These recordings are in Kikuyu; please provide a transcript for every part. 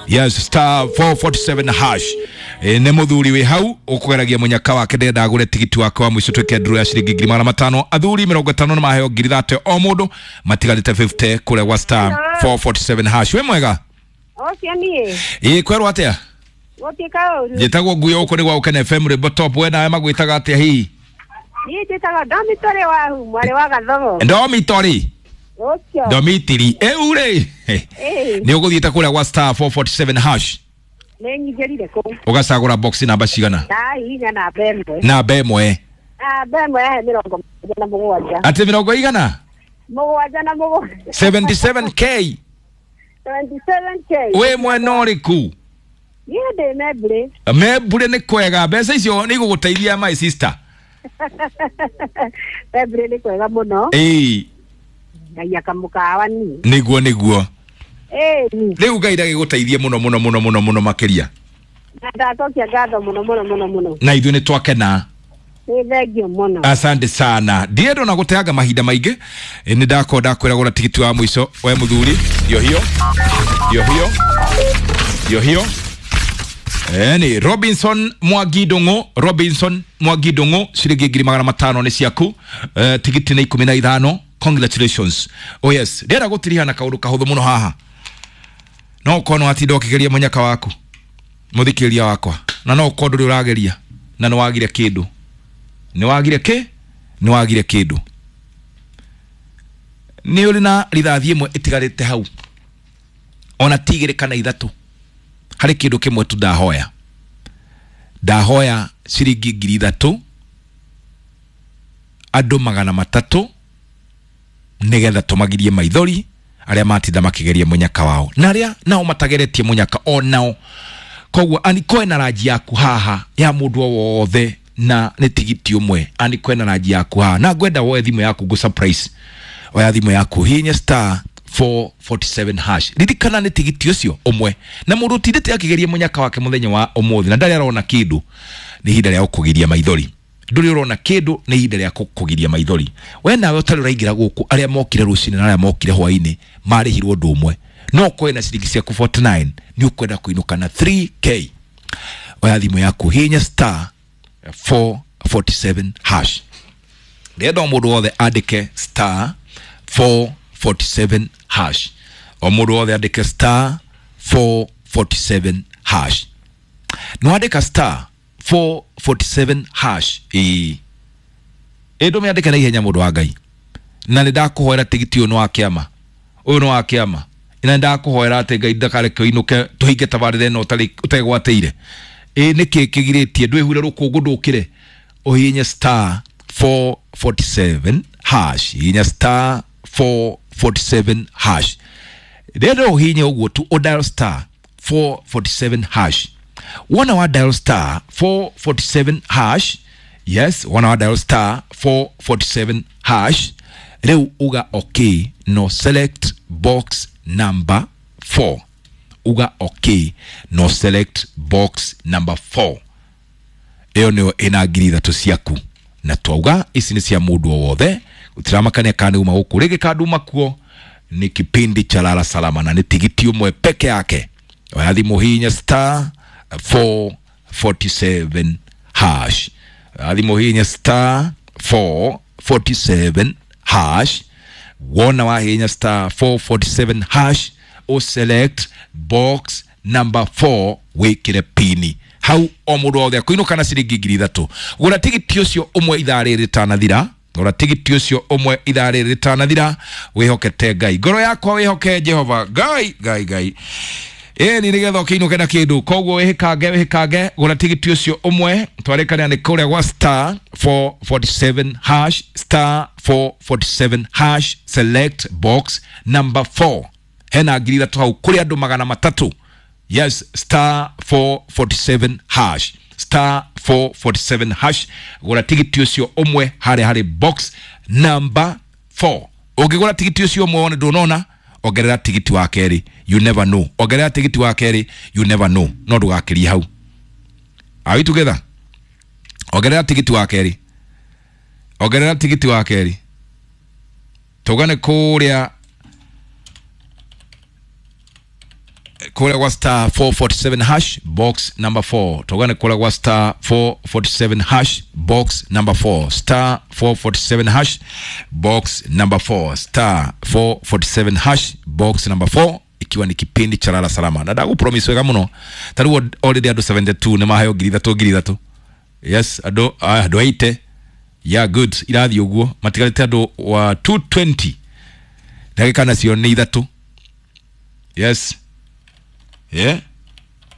Yes, star 447 hash. Nĩ mũthuri wĩ hau ũkũgeragia mũnyaka wake ndenda agũre tigiti wake wa mũico twĩke nduru ya ciringi 500,000. Athuri 50 nĩ maheo 30,000 o mũndũ, matigarĩte 50 kũrĩa gwa star 447 hash. Wĩ mwega? Ũcio niĩ. Ĩ kwerwo atĩa? Gũtiĩ kaũru. Njĩtagwo Nguyo, gũkũ nĩ gwa Gũkena FM Rwĩmbo Top. We nawe magwĩtaga atĩa hihi? Niĩ njĩtagwo Ndomitorĩ wahu mwarĩ wa Gathogo. Ndomitorĩ. Ũcio. Ndomitiri. Ĩu rĩ. Ĩĩ. Nĩ ũgũthiĩte kũrĩa gwa star 447 hash. Nĩ nyingĩrire kũu. Ũgacagũra box namba cigana? Ndahihinya namba ĩmwe. Namba ĩmwe. Namba ĩmwe yahe 77. Atĩ mĩrongo igana? 77. 77k. 77K. Wĩ mwena ũrĩkũ? Niĩ ndĩ Membure. Membure nĩ kwega. Mbeca icio nĩ igũgũteithia my sister. Membure nĩ kwega mũno. Ĩĩ. Ngai akamũkawa ni. Nĩguo nĩguo. Ĩĩ. Rĩu Ngai ndagĩgũteithie mũno mũno mũno mũno mũno makĩria. Na ndacokia ngatho mũno mũno mũno mũno. Na ithuĩ nĩ twakena. Nĩ thengio mũno. Asante sana. Ndienda ona gũteanga mahinda maingĩ. Nĩ ndakorwo ndakwĩra gũra tigiti wa mũico we mũthuri. Ndio hiyo. Ndio hiyo. Ndio hiyo. Ni Robinson Mwangi Ndung'u, Robinson Mwangi Ndung'u, ciringi 500,000 nĩ ciaku. Tigiti nĩ 15. Congratulations. Oh yes, ndĩrenda gũtiriha na kaũndũ kahũthũ mũno haha. No ũkorwo nĩ watinda ũkĩgeria mũnyaka waku, mũthikĩrĩria wakwa, na no ũkorwo ndũrĩ ũrageria na nĩ wagire kĩndũ. Nĩ wagire kĩ? Nĩ wagire kĩndũ. Nĩ ũrĩ na rithathi ĩmwe ĩtigarĩte hau, ona ti igĩrĩ kana ithatũ. Harĩ kĩndũ kĩmwe tu ndahoya. Ndahoya ciringi 3,000 andũ 300 nĩgetha tũmagirie maithori arĩa matinda makĩgeria mũnyaka wao na arĩa nao matageretie mũnyaka o nao. Koguo anikoe na ranji yaku haha ya mũndũ o wothe na nĩ tigiti ũmwe. Anikoe na ranji yaku haha na ngwenda woe thimũ yaku ngũ surprise. Oya thimũ yaku hihinya star 447 hash. Ririkana nĩ tigiti ũcio ũmwe na mũndũ ũtindĩte akĩgeria mũnyaka wake mũthenya wa ũmũthĩ na ndarĩ arona kĩndũ, nĩ ihinda rĩa gũkũgiria maithori. Ndũrĩ ũrona kĩndũ, nĩ ihinda rĩa gũkũgiria maithori. We nawe ũtarĩ ũraingĩra gũkũ, arĩa mokire rũcinĩ na arĩa mokire hwainĩ marĩhirwo ũndũ ũmwe. No ũkorwo na ciringi ciaku 49 nĩ ũkwenda kũinũka na 3K. Oya thimũ yaku hihinya star 447 hash. Ndĩrenda o mũndũ wothe andĩke star 447 hash. O mũndũ wothe andĩke star 447 hash. Nĩ wandĩka star 447 hash. Ĩĩ. Ĩ ndũmĩandĩke na ihenya mũndũ wa Ngai. Na nĩ ndakũhoera tigiti ũyũ nĩ wa kĩama. Ũyũ nĩ wa kĩama. Na nĩ ndakũhoera atĩ Ngai ndakareke ũinũke tũhinge tabarĩra ĩno ũtegwatĩire. Ĩ nĩkĩ kĩgirĩtie ndwĩhure rũkũngũ ndũkĩre ũhihinye star 447 hash. Hihinya star 447 hash. Rĩrĩa ũhihinye ũguo tu ũ dial star 447 hash. Wona wa dial star 447 hash. Yes, wona wa dial star 447 hash. Rĩu uga okay, no select box number 4. Uga okay, no select box number 4. Ĩyo nĩyo ĩna 3,000 ciaku. Na twauga ici nĩ cia mũndũ o wothe. Gũtiramakania kana nĩ uma gũkũ rĩngĩ kana nduma kuo. Ni kipindi cha Lala Salama na nĩ tigiti ũmwe peke yake. Oya thimũ hihinya star 447 hash. Oya thimũ hihinya star 447 hash. Wona wahihinya star 447 hash, o select box number 4 wĩkĩre pini. Hau o mũndũ wothe akũinũka na ciringi 3,000. Gũra tigiti ũcio ũmwe ithaa rĩrĩ rĩtanathira. Gũra tigiti ũcio ũmwe ithaa rĩrĩ rĩtanathira. Wĩhokete Ngai. Ngoro yakwa wĩhoke Jehova. Ngai, Ngai, Ngai. Ĩĩ nĩ nĩgetha ũkĩinũke na kĩndũ. Koguo wĩhĩkange, wĩhĩkange, gũra tigiti ũcio ũmwe. Twarĩkania nĩ kũrĩa gwa star 447 hash, star 447 hash, select box number 4. Hena 3,000 hau kũrĩ andũ 300. Yes, star 447 hash. Star 447 hash. Gũra tigiti ũcio ũmwe harĩa harĩ box number 4. Ũngĩgũra tigiti ũcio ũmwe wone ndũnona, ongerera tigiti wa kerĩ, you never know. Ongerera tigiti wa kerĩ, you never know. No ndũgakĩrie hau. Are we together? Ongerera tigiti wa kerĩ. Ongerera tigiti wa kerĩ. Tũgane kũrĩa Kũrĩa gwa star 447 hash box number 4. Tauga nĩ kũrĩa gwa star 447 hash box number 4. Star 447 hash box number 4. Star 447 hash box number 4, ikiwa ni kipindi cha lala salama, na ndagupromise wega muno. Ta rĩu already andũ 72 nĩ maheo 3,000 3,000. Yes, andũ andũ 80. Yeah, good, irathiĩ ũguo. Matigarĩte andũ wa 220, ndagĩka nacio nĩ ithatũ. Yes, yeah,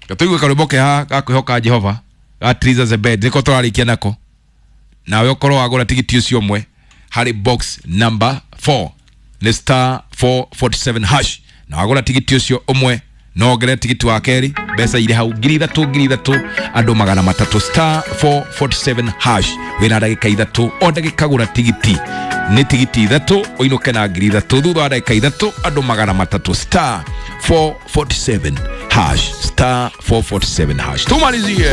gatũigue karwĩmbo ke haha ga kwĩhoka Jehova ga Triza Zebed, nĩko tũrarĩkia nako. Nawe ũkorwo wagũra tigiti ũcio ũmwe harĩ box number 4, nĩ star 447 hash, na wagũra tigiti ũcio ũmwe no wongerere tigiti wa kerĩ. Mbeca irĩ hau, 3,000 3,000, andũ 300. Star 447 hash, wĩna ndagĩka ithatũ. O ndagĩka gũra tigiti, nĩ tigiti ithatũ, ũinũke na 3,000. Thutha wa ndagĩka ithatũ, andũ 300. Star 447 hash, star 447 hash. Tumalizie.